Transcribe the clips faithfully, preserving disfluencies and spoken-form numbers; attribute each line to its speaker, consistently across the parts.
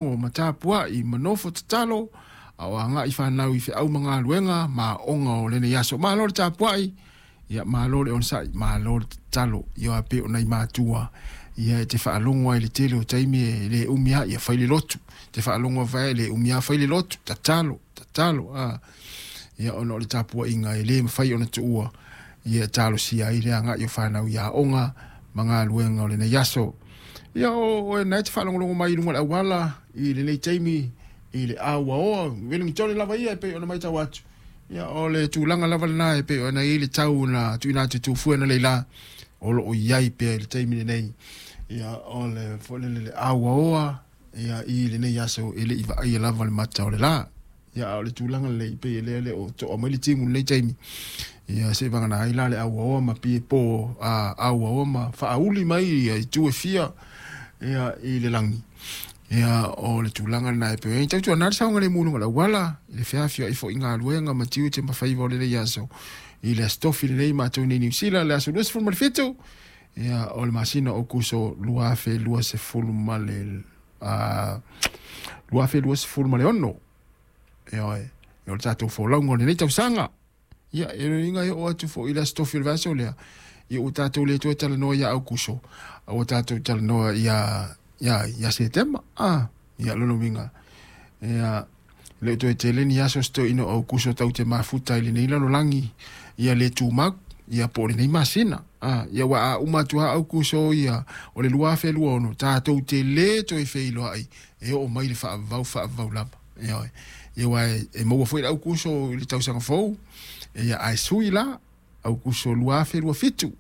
Speaker 1: Ma tapua'i ma nofo tatalo a o aga'i fanau i feau ma galuega ma aoga o lenei aso. Malo le tapua'i, ia malo le onosa'i, malo le tatalo. Ia aua pei o nai matua ia e te faalogo ai i le tele o taimi e lē umi a ia fai le lotu, te faalogo ai e lē umi a fai le lotu, tatalo, tatalo a ia ona o le tapua'iga e lē mafai ona tuua ia talosia ai le aga'i o fanau i aoga ma galuega o lenei aso. Ia o oe na e te faalogologo mai i luga o le auala i lenei taimi i le auaoa Wellington lava ia e pei ona matau atu, ia o le tulaga lava lena e pei ona i ai le tau na tuuina atu e Tufue analeila o loo i ai pea i le taimi lenei. Ia o le foi lele le auaoa ia i lenei aso e lei vaaia lava le mata o le la. Ia a o le tulaga lelei pei e lea le o to'a mai le timu i lenei taimi, ia se vagana ai la le auaoa ma pie po a auaoa ma faauli mai ia itu e fia ia i le lagi. Ia o le tulaga lena e pei ai tautuana le saogalemu i luga o le auala i le feafioai foi i galuega ma tiute ma faiva o lenei aso i le aso Tofi lenei matou nei Niu Sila le aso luasefulu ma le fitu ia o le masina o Aokuso lua afe luasefulu ma le lua afe luasefulu ma le ono. Ioe, o le tatou folauga o lenei tausaga. Ia e uiga e oo atu foi i le aso Tofi o le vaiaso lea, ia ua tatou le toe talanoa ia Aokuso a ua tatou talanoa ia ia ia Setema a. Ia lona uiga ia le o toe tele ni aso se toeaina o Aokuso tatou te mafuta i lenei lalolagi ia le tumau ia po o lenei masina a. Ia ua a uma atu lava Aokuso ia o le lua afe lua ono, tatou te lē toe feiloai e oo mai le faavavau faavavau lava. Ioe, ia ua e maua foi le Aokuso i le tausaga fou ia ae sui la Aokuso lua afe lua fitu,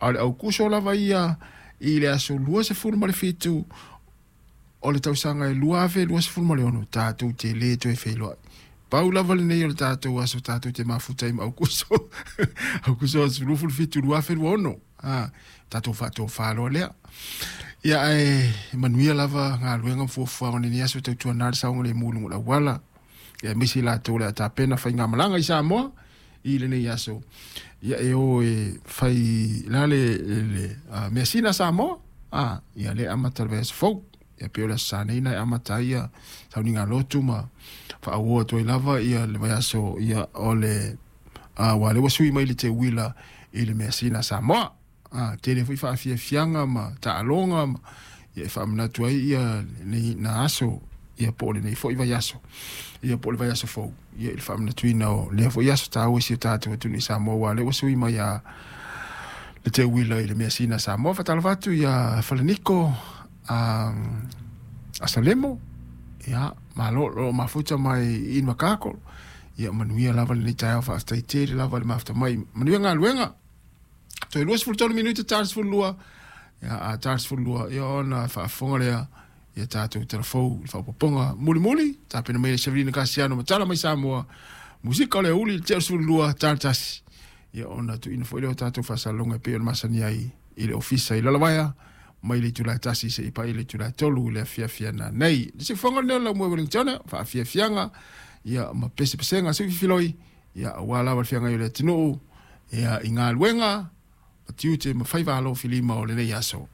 Speaker 1: a o le Aokuso lava ia i le aso luasefulu ma le fitu o le tausaga e lua afe luasefulu ma le ono tatou te lē toe feiloai. Pau lava lenei o le tatou aso tatou te mafuta ai ma Aokuso, Aokuso aso luasefulu fitu lua afe lua ono a tatou faatofā loa lea. Ia ae manuia lava galuega ma fuafuaga o lenei aso. Tautuana le saogalemu i luga o le auala, ia aemaise i latou le a tapena faigamalaga i Samoa i lenei aso ia e o e fai la le, le uh, measina Samoa a. Ia le amata le vaiaso fou ia pei o le aso Sa nei na e amata ai ia sauniga lotu ma faauo atu ai lava ia le vaiaso ia o le uh, ua le ua sui mai le teuila i le measina Samoa a. Tele foi faafiafiaga ma taaloga ma ia e faamanatu ai ia lenei na aso ia po o lenei foi vaiaso ia po o le vaiaso fou ia i le faamanatuina o lea foi aso taua i si o tatou atunuu i Samoa ua lea ua sui mai a le teuila i le measina Samoa. Faatalofa atu ia Falaniko um, Asalemo, ia malo lo mafuta mai i Makako. Ia manuia lava lenei taeao, faafetai tele lava le mafuta mai, manuia galuega. Toe luasefulu tolu minute ta le sefulu lua, ia a ta le sefulu lua ia ona faafofoga lea ia tatou talafou i le faaopoopoga mulimuli tapena mai le Sevelina Kasiano ma tala mai Samoa musika o le uli i le tea o le sefulu lua ta le tasi ia ona tuuina foi lea o tatou faasalaloga e pei ona masani ai i le ofisa i Lalovaea mai le itula e tasi seia paia le itula e tolu i le afiafi ananei. Le siufofoga lenei o le Laumua i Wellington, faafiafiaga ia ma pesepesega suififiloi ia aua lava le feagai o le atunuu ia i galuega ma tiute ma faiva alofilima o lenei aso.